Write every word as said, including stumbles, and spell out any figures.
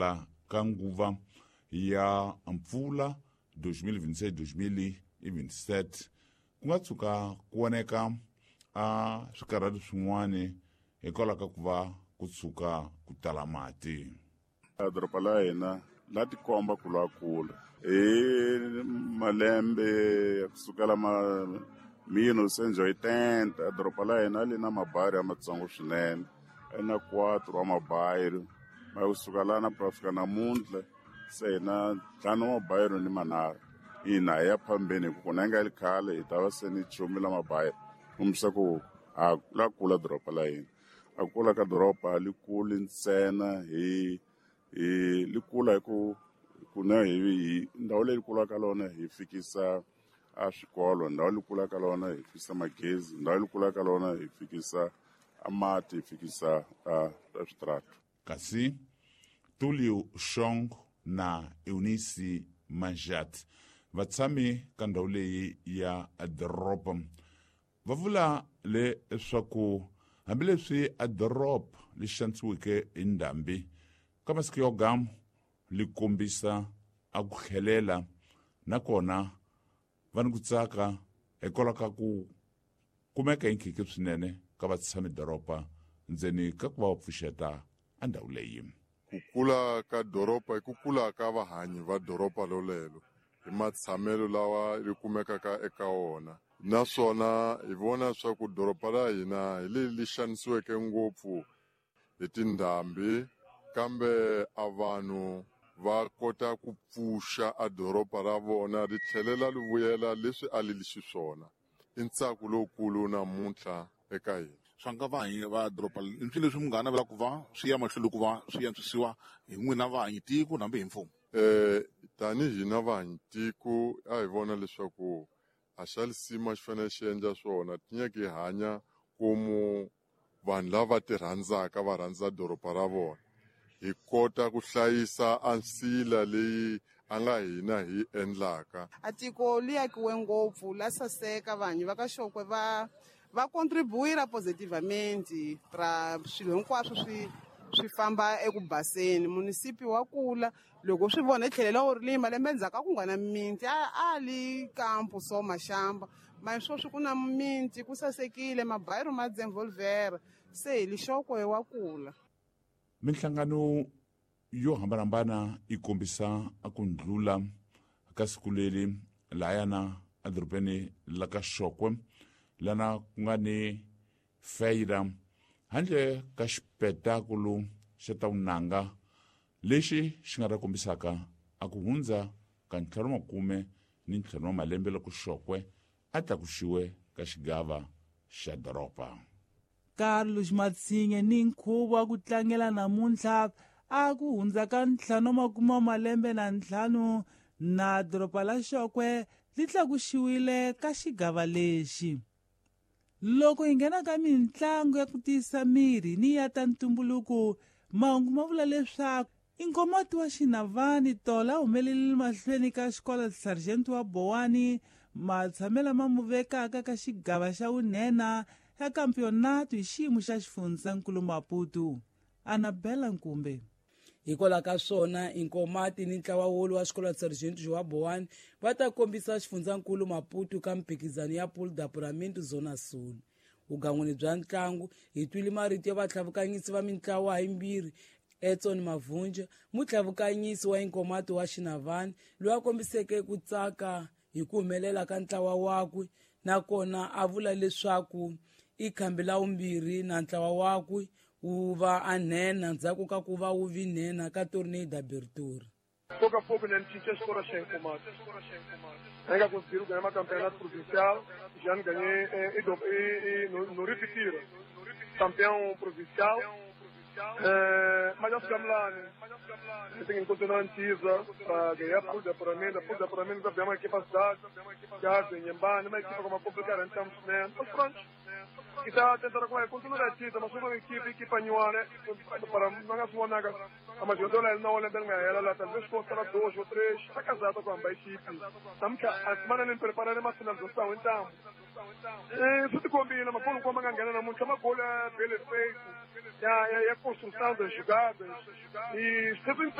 hela ka nguva ya mpfula twenty twenty-six twenty twenty-seven ku nga tshuka ku voneka a swikarhati swin'wani hikwalaho ka ku va ku tshuka ku tala mati. Doroba la hina la tikomba ku lwa kula hi malembe ya kusukela ma mil novecentos e oitenta. Doroba la hina li na mabayiro ya matsongo swinene, a na quatro wa mabayiro ma kusuka lana ku fika namuntlha se hi na ntlhanu wa mabayiro ni manharhu. Ina, hi ya phambeni hi ku kuna nga li khale hi ta va se ni chumi la mabayiro, kombisa ku a la kula doroba la hina. A kula ka doroba li kuli ntsena hi hi li kula hi ku kuna hi hi ndhawu leyi kulaka lona hi fikisa a swikolo, ndhawu leyi kulaka lona hi fikisa magezi, ndhawu leyi kulaka lona hi fikisa a mati, hi fikisa a switratu. Kasi Tulio Shong na Eunice Manjat, vatshami ka ndhawu leyi ya doroba, va vula leswaku hambileswi a doroba li xanisiweke hi ndhambi ka masiku yo gamu li kombisa a ku tlhelela, nakona va ni ku tsaka hikwalaho ka ku kumeka hi nkhinkhi swinene ka vatshami doroba ndzeni ka ku va va pfuxeta a ndhawu leyi. Ku kula ka doroba i ku kula ka vahanyi va doroba lolelo hi matshamelo lawa ri kumekaka eka wona, naswona hi vona swa ku doroba ra hina hi leri li xanisiweke ngopfu hi tindhambi, kambe a vanhu va kota ku pfuxa a doroba ra vona ri tlhelela ri vuyela leswi a li li xiswona. I ntsako lowukulu namuntlha eka hina. Swa nga vahanyi va doroba i swilo leswi munghana navelaka ku va swi ya mahlweni ku va swi antswisiwa hi n'wina vahanyi tiko hambi hi mfumo? Eh tanihi hina vahanyi tiko, a hi vona leswaku a xa lisima xi fanele xi endla swona tinyeke hi hanya komu vanhu lava ti rhandzaka va rhandza doroba ra vona, hi kota ku hlayisa a nsila leyi a nga hina hi endlaka. A tiko li akiwe ngopfu, la saseka. Vanhu va ka Xokwe va va contribuir positivamente ra swilo hinkwaswo swi swi famba eku baseni. Munisipi wa kula loko swi vona hi tlhelela wu ri malembe endzhaku a ku nga na mimiti, a a li kampo so maxamba ma sweswi ku na mimiti, ku sasekile, mabayiro ma desenvolver se hi lixokwe wa kula. Minhlangano yo hambanahambana yi kombisa a ku ndlula ka siku leri layana edorobeni la ka Xokwe lana ku nga ni feira handle ka xipetakulu xa ta vunanga lexi xi nga ta kombisaka a ku hundza ka ntlhanu makume ni ntlhanu wa malembe loko Xokwe a tlakuxiwe ka xigava xa doroba. Carlos Matsinhe ni nkhuvo wa ku tlangela namuntlha a ku hundza ka ntlhanu makume wa malembe na ntlhanu na doroba la Xokwe li tlakuxiwile ka xigava lexi. Loko hi nghena ka mitlangu ya ku tiyisa miri ni ya ta ntumbuluko, mahungu ma vula leswaku inkomati wa Xinavani tola humelelile mahlweni ka xikolo Sargent wa Bowani matshamelo ma mu vekaka ka xigava xa vunhena ya kampionato hi xiyimo xa xifundzankulu Maputo. Anabela Nkumbe. Hikwalaho ka swona, Inkomati ni ntlawa wolu wa xikolo Sergeant Joa Bowani va ta kombisa xifundzankulu Maputo ka mphikizano ya Pool d'Apuramento Zona Sul. Vugan'wini bya ntlangu, hi twile marito ya vatlhavukanyisi va mintlawa hayimbirhi. Edson Mavhunja, mutlhavukanyisi wa Inkomati wa Xinavani, loyi a kombiseke ku tsaka hi ku humelela ka ntlawa wakwe, nakona a vula leswaku i khambi la vumbirhi na ntlawa wakwe wu va a nhenha ndzhaku ka ku va wu vi nhenha ka Torneio d'Abertura. Pouco a pouco, né, tinha escola sem comando. Ainda conseguiram ganhar uma campeonato provincial, já não ganhei e, e, e, no, no repetir, campeão provincial. É, mas nós ficamos lá, né? Tem que continuar antiza para ganhar por apuramento, por apuramento, já uma equipa cidade, já em Nhembane, uma equipa como complicada, então, né? Mas pronto. E está tentando com continuar a mas uma equipe, equipa né? Para não se naga. Mas eu dou não olha bem ela lá, talvez consta dois ou três, está casado com a equipe. Estamos a semana nem preparar uma finalização, então. Isso te combina, mas quando como ganhar muito, uma gola bem feito, e a, a construção das jogadas, e sempre